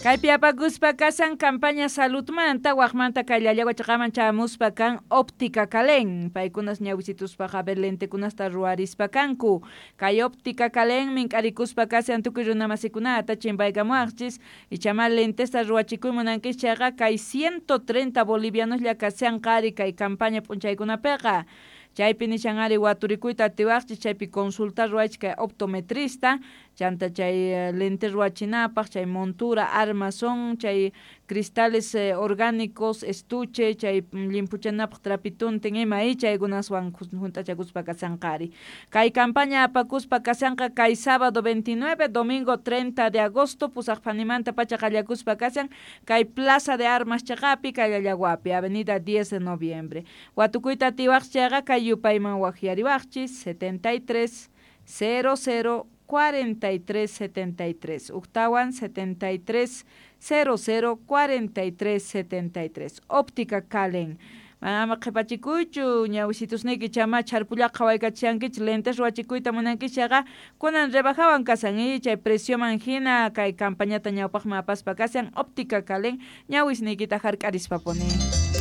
Kaypi apakuspa kasan campaña saludmanta waqmanta kay Llallagua chiqaman chamuspa kan Óptica Calen. Paykunas ñawisituspaqa ver lentekunasta ruwarispa kanku. Kay Óptica Calen mink'arikuspa kasan tukuy runamasikunata chimpaykamuwaqchis ichama lentesta ruwachikuy munankis chayqa kay 130 bolivianoslla kasan qari kay campaña p'unchaykunapiqa. Chaypi nishan ari waturikuyta atiwaqchis chaypi consulta ruwaychis kay optometrista chanta chay lente ruwachinapaq chay montura armazón chay cristales orgánicos estuche chay llimpuchanapaq trapituntin ima y chaykunaswan junt'achakuspa kasanqari. Kay campaña apakuspa kasanqa kay sábado 29 domingo 30 de agosto pusaq phanimanta pacha qallakuspa kasan kay Plaza de Armas chaqapi kay Llallaguapi avenida 10 de noviembre. Watukuyta atiwaqchis chayqa kay yupayman waqyariwaqchis 73 00 43 73 uktawan 73 00 43 73 Óptica Calen. Ama qhipachikuychu ñawisitusniyki chama chharpullaqa qhawaykachishankichik lentes ruwachikuyta munankich chayqa kunan rebajawan kasan y chay precioman hina kay campañata ñawpaqman apaspa kasan Óptica Calen ñawisniykita hark'arispapuni.